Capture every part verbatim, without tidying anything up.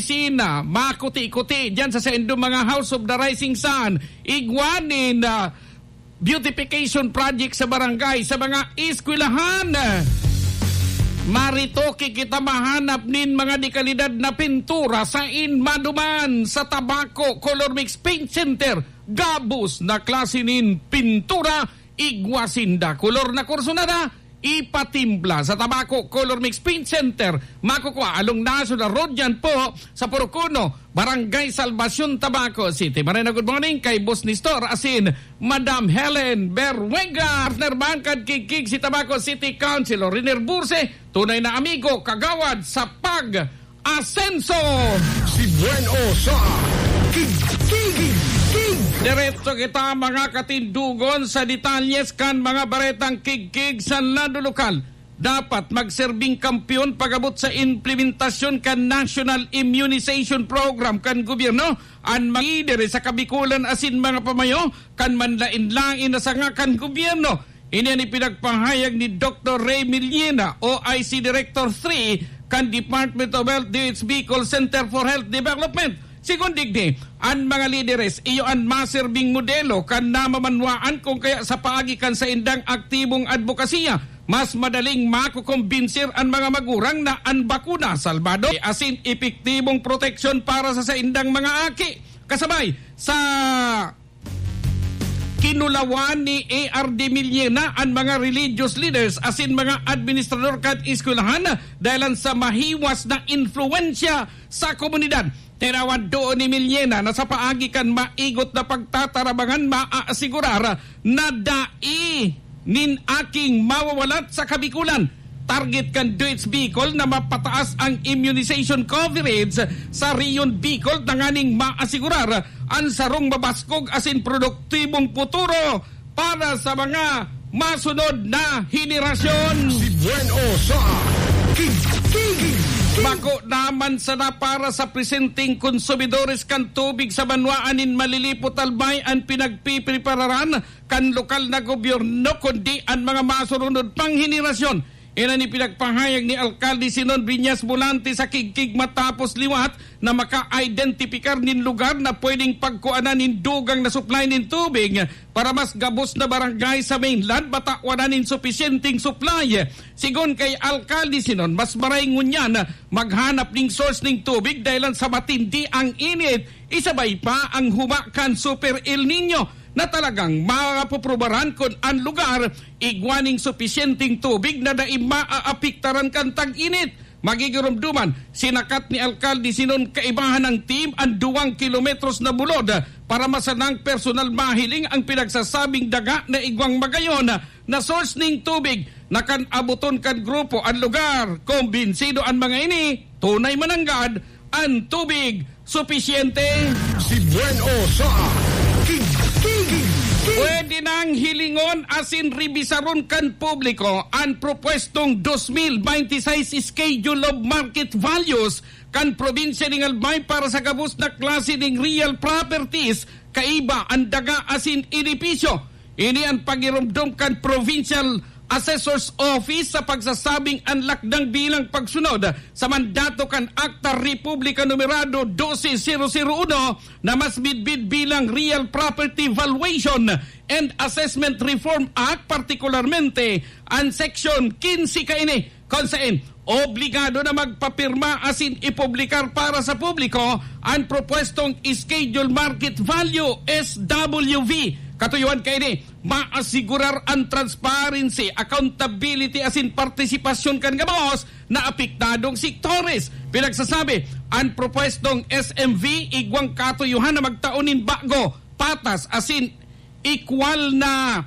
Sina, makuti-kuti diyan sa saindong mga House of the Rising Sun, igwa nin, ah, beautification project sa barangay, sa mga eskwelahan. Maritoke kita mahanap nin mga dekalidad na pintura sa Inmaduman, sa Tabaco Color Mix Paint Center. Gabos na klase nin pintura, igwa sinda. Kolor na kursunada, ipatimpla sa Tabaco Color Mix Paint Center. Makukua along National Road yan po sa Purok Uno, Barangay Salvacion, Tabaco City. Marena, good morning kay Boss Nestor asin Madam Helen Berwega. Partner man kan Kigkig si Tabaco City Councilor Riner Burse, tunay na amigo, kagawad sa pag-asenso. Si Buen O sa Kigkig. Diretso kita, mga katindogon, sa detalyes kan mga baretang Kigkig sa lado lokal. Dapat magserbing kampiyon pag-abot sa implementasyon kan National Immunization Program kan gobyerno an mga lider sa Kabikulan asin mga pamayo kan manlaen-laen na sanga kan gobyerno. Ini an ipinagpahayag ni Doktor Ray Millena, O I C Director three kan Department of Health, D O H Bicol Center for Health Development. Sigon digdi, an mga lideres iyo an maserbing modelo kan namamanwaan, kung kaya sa paagi kan saindang aktibong adbokasiya, mas madaling makokombinsir an mga magurang na an bakuna salbado asin epektibong proteksyon para sa saindang mga aki. Kasabay sa kinulawan ni A R D Millena an mga religious leaders asin mga administrador kan eskwelahan dahelan sa mahiwas na influwensya sa komunidad. Tinawan doon ni Millena na sa paagi kan maigot na pagtatarabangan, maaasigurar na dai nin aking mawawalat sa Kabikulan. Target kan D O H Bicol na mapataas ang immunization coverage sa Rehiyon Bicol tanganing maasigurar an sarong mabaskog asin produktibong futuro para sa mga masunod na henerasyon. Si Buen O sa Kigkig. Bako naman sana para sa presenteng konsumidores kan tubig sa banwaan nin Malilipot, Albay an pinagpiprepararan kan lokal na gobyerno, kundi an mga masurunod pang henerasyon. Iyan an ipinagpahayag ni Alkalde Sinon Viñas Volante sa Kigkig matapos liwat na maka-identipikar nin lugar na pwedeng pagkuanan nin dugang na supply nin tubig para mas gabos na barangay sa mainland matawan nin supisyenteng supply. Sigon kay Alkalde Sinon, mas maray ngunyan maghanap nin source nin tubig dahelan sa matindi ang init, isabay pa ang huma kan Super El Nino na talagang mapuprubaran kun an lugar igwa nin supisyenteng tubig na dai maaapektaran kan tag-init. Magigiromdoman, sinakat ni Alkalde Sinon kaibahan ng team an duwang kilometros na bulod para masanang personal mahiling ang pinagsasabing daga na igwang magayon na source ning tubig na kan aboton kan grupo an lugar. Kumbinsido an mga ini, tunay mananggad an tubig supisyente. Si Buen O sa Kigkig. Pwede nang hilingon asin rebisaron kan publiko an propwestong dos mil bente y seis Schedule of Market Values kan probinsya ning Albay para sa gabos na klase ning real properties, kaiba an daga asin edipisyo. Ini an pagiromdom kan Provincial Assessor's Office sa pagsasabing an lakdang bilang pagsunod sa mandato kan Akta Republika Numerado dose zero zero uno na mas midbid bilang real property valuation and assessment reform act, partikularmente an Seksyon quince kaini, kun saen obligado na magpapirma asin ipublikar para sa publiko an propwestong Schedule Market Value, S W V. Katuyohan kaini, maasigurar an transparency, accountability asin partisipasyon kan gabos na apektadong sektores. Pinagsasabi, an propwestong S M V igwang katuyohan na magtao nin bago, patas asin equal na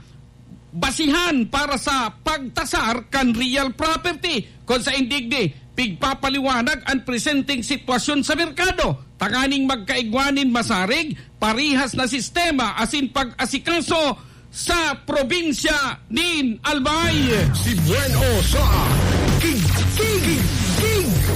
basihan para sa pagtasar kan real property, kun saen digdi pigpapaliwanag an presenteng sitwasyon sa merkado tanganing magkaigwa nin masarig, parehas na sistema asin pag-asikaso sa probinsya nin Albay. Si Buen O sa Kigkig.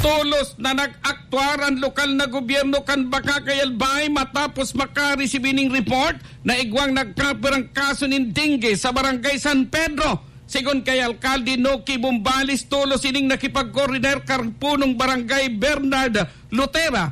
Tolos na nag-aktwar an lokal na gobyerno kan Bacacay, Albay matapos makaresibi ning report na igwang nagkapirang kaso nin dengue sa Barangay San Pedro. Sigon kay Alkalde Noki Bombales, tolos ining nakipag-koordinar kan punong barangay Bernard Lutera